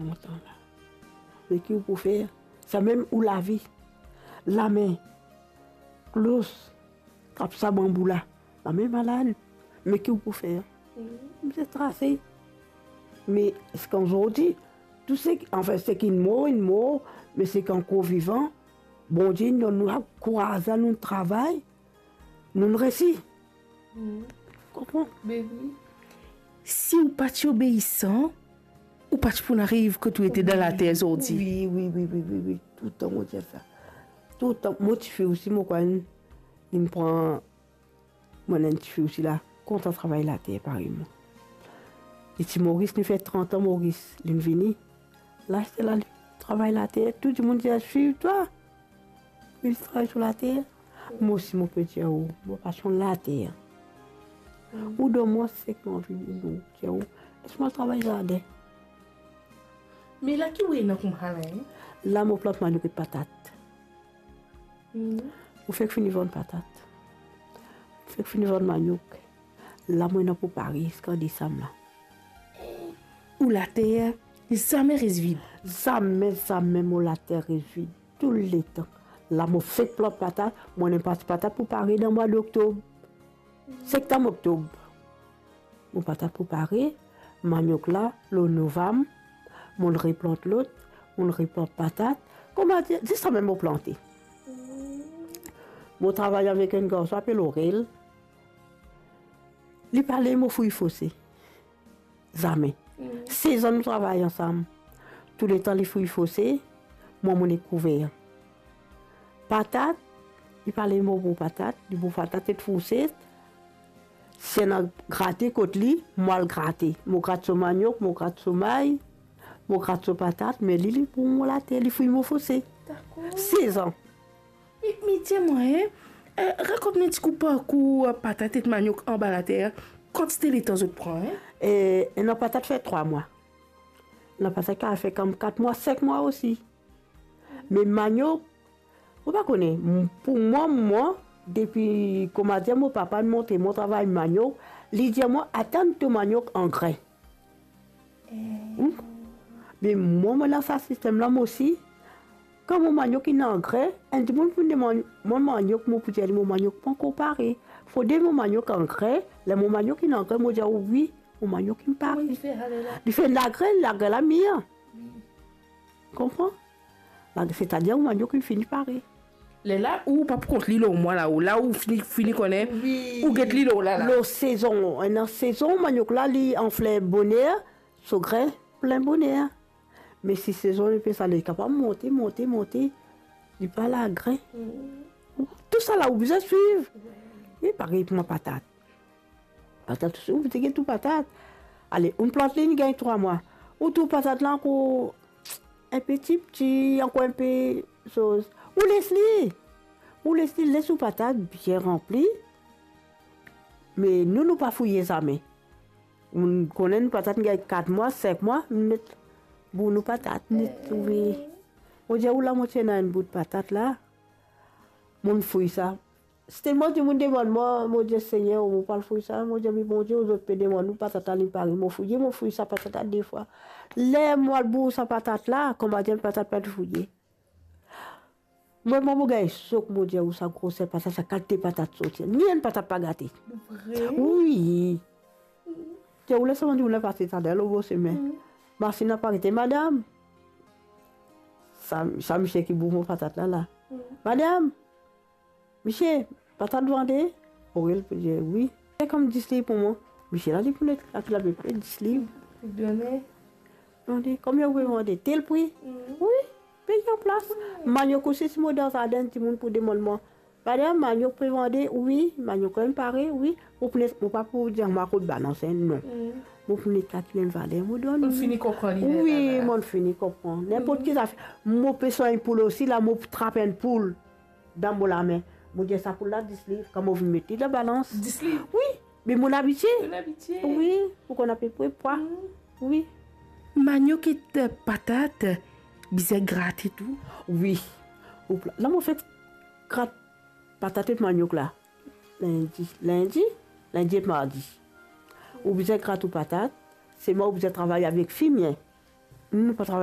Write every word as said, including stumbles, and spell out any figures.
Mo tan la. Me ki ou pou fer? Samem ou lavi, lame, klos, trap sa banbou la, lame malad. Me ki ou pou fer? Mo ti trase. Me seki zordi, tou seki, anfin, seki inn mor, inn mor, me seki ankor vivan, Bondie inn donn nou kouraz la, nou travay, nou resi. Konpran? Be wi. Si ou pa ti obeisan, ou pa ti pou ariv kot ou ete dan later zordi. Wi, wi, wi, wi, wi, wi. Toultan mo dir sa. Toultan, mo tifi osi, mo krwar inn, inn pran, mo ena enn tifi osi la, kontan travay later parey mwa. Li ti Moris, li fer trant an Moris, linn vini. La, se la, li travay later, tou dimoun dir, "Swiv twa." Li travay sou later. Mo osi, mo pe dir ou, mo pasion later. Ou donn mwa seki mo anvi, mo dir ou, les mwa travay zaden. Me la ki ou ena koumsa la, en? La, mo plant manok ek patat. Mo fek fini vann patat. Mo fek fini vann manok. La, mo ena pou pare ziska desam la. Ou later zame res vid? Zame, zame mo later res vid. Touletan. La, mo fek plant patat, mo ena enn parti patat pou pare dan mwa doktob. Septam, oktob. Mo patat pou pare, manok la, lor novam, mo'nn replant lot, mo'nn replant patat. Kouma dir, ziska mem mo plante. Mo travay avek enn garson apel Orel. Li pa le mo fouy fose. Zame. Sez an nou travay ansam. Touletan li fouy fose, mwa mo nek kouver. Patat, li pa le mo bour patat, li bour patat ek fourset. Si ena grate kot li, mo al grate. Mo grat so manok, mo grat so may, mo grat so patat, me li, li bour mo later, li fouy mo fose. Dakor. Sez an. Me, me dir mwa, en, eh, rakont mwa enn ti kou parkour, eh, patat ek manok anba later, kantite letan zot pran, en? Eh, ena patat fer trwa mwa. Ena patat ki al fer kom kat mwa, sink mwa osi. Me manok, ou pa kone, m-, pou mwa, mwa, depi, kouma dir, mo papa inn montre mwa travay manok, li dir mwa, "Atann to manok an grin." Ou? Me mwa, mo dan sa sistem la, mo osi. Kan mo manok inn an grin, enn dimoun pou demann mwa manok, mo pou dir li, "Mo manok pankor pare." Fode mo manok an grin, ler mo manok inn an grin, mo dir, "Wi, mo manok inn pare." Kouma li fer ale la? Li fer lagrin, lagrin la mir. Konpran? La, setadir ou manok inn fini pare. Lerla ou pa pou kont li lor mwa la, ou la ou fini, fini kone, wi, ou get li lor la, la. Lor sezon, ena sezon, manok la, li anfle boner, so grin plin boner. Me si sezon li pe sale, li kapav monte, monte, monte, li pa lagrin. Tou sa la ou bizin swiv. Wi, parey pou mwa patat. Patat osi, ou bizin get ou patat. Ale, ou plant li, li gagn trwa mwa. Ou trouv patat la ankor enpe tipti, ankor enpe soz. Ou les li. Ou les li, les ou patat bien ranpli. Me nou, nou pa fouye zame. Ou konn enn patat gagn kat mwa, sink mwa, nou met bour nou patat, nou trouve. Mo dir ou la, mo ti ena enn bout patat la. Mo'nn fouy sa. Si telman dimoun demann mwa, mo dir, "Segner, mo pa al fouy sa." Mo dir, "Me Bondie, ou zot pe demann ou patat la, li pare." Mo fouye, mo fouy sa patat la de fwa. Ler mo al bour sa patat la, kouma dir, patat pa ti fouye. Mwa, mwa, mo gagn sok, mo dir ou, sa groser patat, sa kalite patat sorti. Ni enn patat pa gate. Vre? Wi. Ti ou les sa, mo dir ou, la pase taler lor bor sime. Masinn la pa arete, "Madam." Sa, sa misie ki bour mo patat la, la. "Madam, misie, patat vande?" Orel pou dir, "Wi." "Fer kom dis liv pou mwa." Misie la, li pou net, la, ki lape pe dis liv. Done. Done, "Konbien ou pe vande?" "Tel pri." "Wi, peye anplas." Manok osi, si mo dan zaden, dimoun pou demann mwa, "Madam, manok pe vande?" "Wi." "Manok inn pare?" "Wi." Mo pou net, mo pa pou dir mwa kot balans, en, non. Mo pou net kalkil enn valer, mo donn. Ou fini konpran li, wi, lerla. Mo fini konpran. Ninport ki zafer. Mo pe swagn poul osi, la, mo trap enn poul dan mo lame. Mo dir sa poul la dis liv, kan mo vinn met li dan balans. Dis liv? Wi, me mo abitie. Mo abitie. Wi, pou konn apepre pwa. Wi. Manok ek patat, bizin grate tou? Wi. Ou pla-, la mo fek grat patat ek manok la. Lindi, lindi, lindi ek mardi. Ou bizin grat ou patat, selman ou bizin travay avek fimie. Nou, nou pa travay